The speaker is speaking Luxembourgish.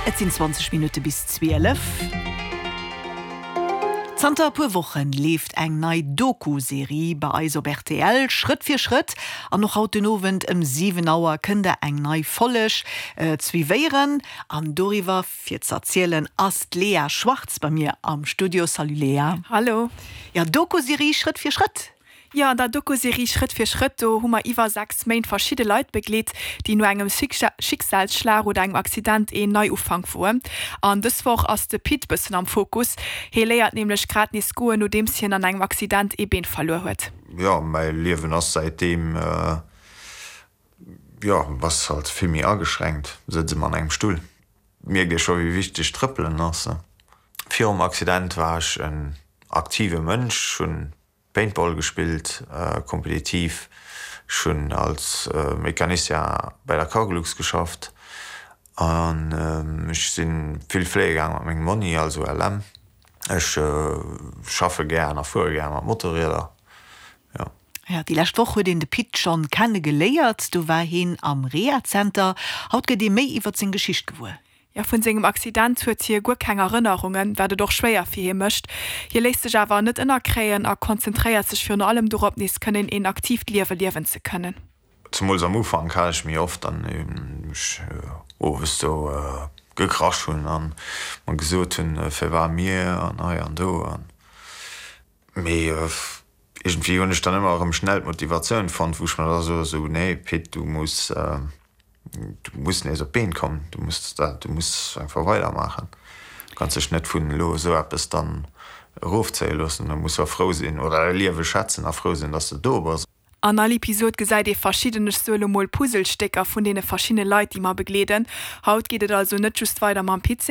Et sinn 20 Minutte bis 12. Zanter e puer Wochen leeft eng nei Doku-Serie bei eis op rtl, Schrëtt fir Schrëtt. An och haut den Owend ëm 7 Auer kënnt der eng nei Folleg suivéieren. An doriwwer fir ze erzielen ass d'Lea Schwartz bei mir am Studio. Salut Lea. Hallo. Jo, Doku-Serie Schrëtt fir Schrëtt. Jo, an der Dokuserie Schrëtt fir Schrëtt, do hu mer iwwer 6 Méint verschidde Leit begleet, déi no engem Schicksalsschlag oder engem Accident een Neiufank woen. An dës Woch ass de Pit bëssen am Fokus. Hie léiert nämlech grad nees goen, nodeems hien an engem Accident ee Been verluer huet. Jo, mäi Liewen ass säitdeem, jo, bass halt vill méi ageschränkt, sëtz ëmmer an engem Stull. Mierkt ee scho wéi wichteg trëppelen ass. Virum Accident war ech en aktive Mënsch, hunn Paintball gespillt, kompetitiv. Ech hunn als Mecanicien bei der Cargolux geschafft an ech si vill fléie gaang mat mengem Monni, also LM. Ech schaffe gären a fuere gär mat Motorrieder, jo. Jo, déi lescht Woch huet een de Pit schonn kenne geléiert. Do war heen am Rehazenter. Haut gëtt ee méi iwwert seng Geschicht gewuer. Jo, vun sengem Accident huet hie guer keng Erënnerungen, wat et och schwéier fir hie mécht. Hie léisst sech awer net ënnerkréien a konzentréiert sech virun allem dorop, nees kënnen een aktiivt Liewe liewen ze kënnen. Zemools am Ufank hat ech méi oft dann ech owes do gekrasch hunn an mer gesot hunn, firwat mir an hei an do an. Mee iergendwéi hunn ech dann ëmmer erëm schnell d'Motivatioun fonnt, wou ech mer da soe sou, nee Pit, du muss, du muss nees op d'Been kommen, du muss dat, du muss einfach weidermaachen. Du kanns dech net vun elo esou eppes dann erofzéie loossen. Du muss jo frou sinn oder däi Liewe schätzen a frou sinn, dass de do bass. An all Episod gesäit ee verschidden, ech soe lo mol Puzzlestécker vun deene verschiddene Leit, déi mer begleeden. Haut geet et also net just weider mam Pit.